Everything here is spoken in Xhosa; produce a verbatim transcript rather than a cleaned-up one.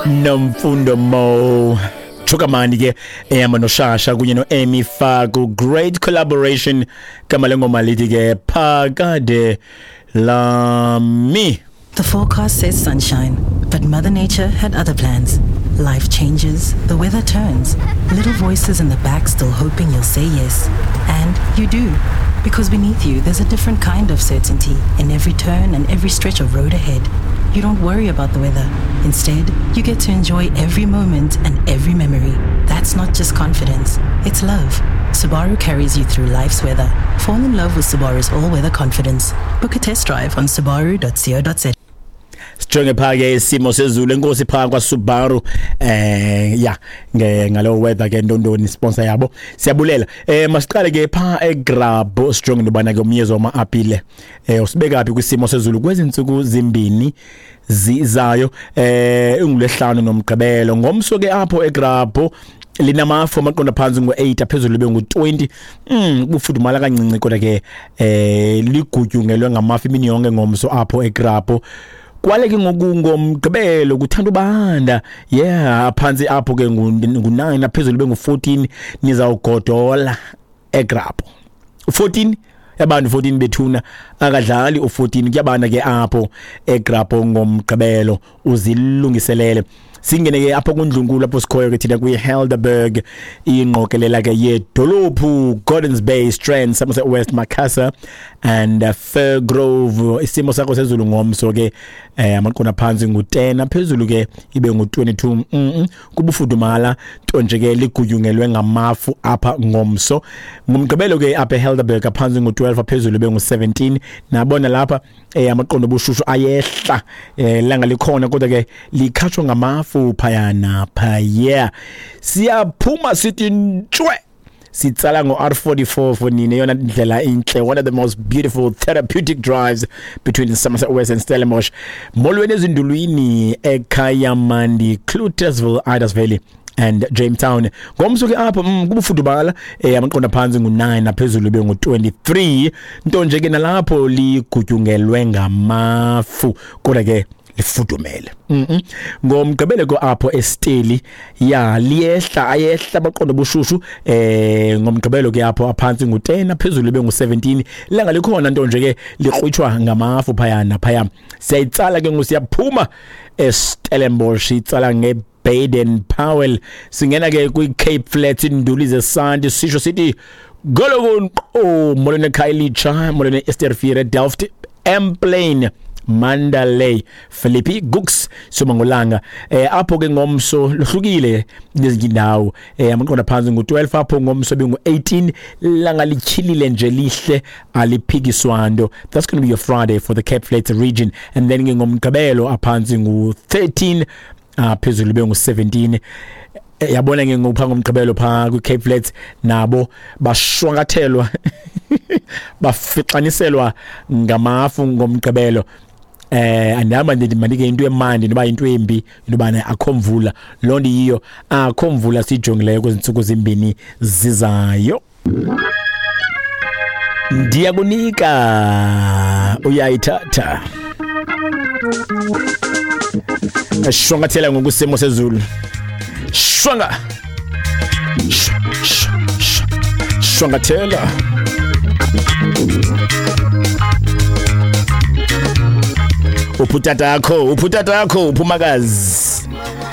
Nomfundo Mo Chukamani ke ehamba noShasha kunye noAmy Faku, great collaboration. Gama lengoma lithi ke Phakade Lami. The forecast says sunshine, but Mother Nature had other plans. Life changes, the weather turns, little voices in the back still hoping you'll say yes. And you do. Because beneath you, there's a different kind of certainty in every turn and every stretch of road ahead. You don't worry about the weather. Instead, you get to enjoy every moment and every memory. That's not just confidence, it's love. Subaru carries you through life's weather. Fall in love with Subaru's all-weather confidence. Book a test drive on subaru dot co dot za. Sijonge pha ke isimo sezulu. Enkosi pha kwa Subaru, eh ya, ngalo weather ke ntontoni sponsor yabo, siyabulela. eh masiqale ke pha eGrabho, sijonge intobana ke umyezo wama apile eh usibeka phi kwisimo sezulu kwezi ntsuku zimbini zizayo, eh ingulesihlanu nomgqibelo. Ngomso ke apho eGrabho linamafu, amaqondo phantsi ngu-eight, aphezulu ibe ngu-twenty. mm kufudumala kancinci, kodwa ke eh ligutyungelwe ngamafu imini yonke ngomso apho eGrabho. Kwale ke ngoku ngomgqibelo kuthanda ubanda, yeah, phantsi apho ke ngu-nine, aphezulu bengu-fourteen. Nizawugodola eGrabho fourteen yabantu, fourteen bethuna, akadlali u-fourteen, kuyabanda ke apho eGrabho ngomgqibelo, uzilungiselele. Singene ke apho kundlunkulu apho sikhoyo ke thina kwi-Helderberg, ingqokelela ke yedolophu, Gordons Bay, Strand, Somerset West, Macassar and uh, Firgrove. Isimo sakho sezulu ngomso ke, eh amaqondo phantsi ngu-ten, aphezulu ke ibe ngu-twenty-two. mm -mm. Kubufudumala nto nje ke ligutyungelwe ngamafu apha ngomso. Ngomgqibelo ke apha eHelderberg phantsi ngu-twelve, aphezulu ibe ngu-seventeen. Nabona lapha eh amaqondo obushushu ayehla, eh langa likhona kodwa ke likhatshwa ngamafu phayana phaya. Siyaphuma sithi ntshwe, sitsala ngo-R forty-four for nina, eyona ndlela intle, one of the most beautiful therapeutic drives between Somerset West and Stellenbosch. Molweni ezindulwini eKayamandi, Cloetesville, Idas Valley and Jamestown. Ngomso ke apho mm, kubufudumala, eh amaqondo phantsi ngu-nine, naphezulu ibe ngu-twenty-three. Nto nje ke nalapho ligutyungelwe ngamafu kodwa ke lifudumele. mm -mm. Ngomgqibelo ko apho eSteli ya liyehla, ayehla baqonda bushushu. eh ngomgqibelo ke apho aphansi ngu-ten, aphezulu ibe ngu-seventeen. Langa likhona, nto nje ke likrwitshwa ngamafu phaya naphaya. Siyayitsala ke ngusiyaphuma eStellenbosch, itsala nge Baden Powell, singena ke kwi-Cape Flats, induli zesanti, sisho sithi golokon. Oh, molweni eKhayelitsha, molweni eEerste, Delft, Emplane, Mandalay, Philippi, Gugs, Somangolanga. eh apho ke ngomso lohlukile nezinye indawo, eh amaqondo phansi ngu-twelve, apho ngomso bengu-eighteen. Langa lityhilile nje, lihle, aliphikiswa nto. That's going to be your Friday for the Cape Flats region. And then ke ngomgqibelo aphansi ngu-thirteen, aphezulu bengu-seventeen. Yabona ke ngopha ngomgqibelo pha kwi Cape Flats nabo bashwankathelwa, bafixaniselwa ngamafu ngomgqibelo. eh andihamba ndithi mandike into emandi noba into embi into bana akho mvula, loo nto yiyo, akho mvula siyijongileyo kwezi ntsuku zimbini zizayo. Ndiyakunika, uyayithatha, shwangathela ngokusimo sezulu, shwanga shwangathela. Uphi utatakho? Uphi utatakho? Uphumakazi.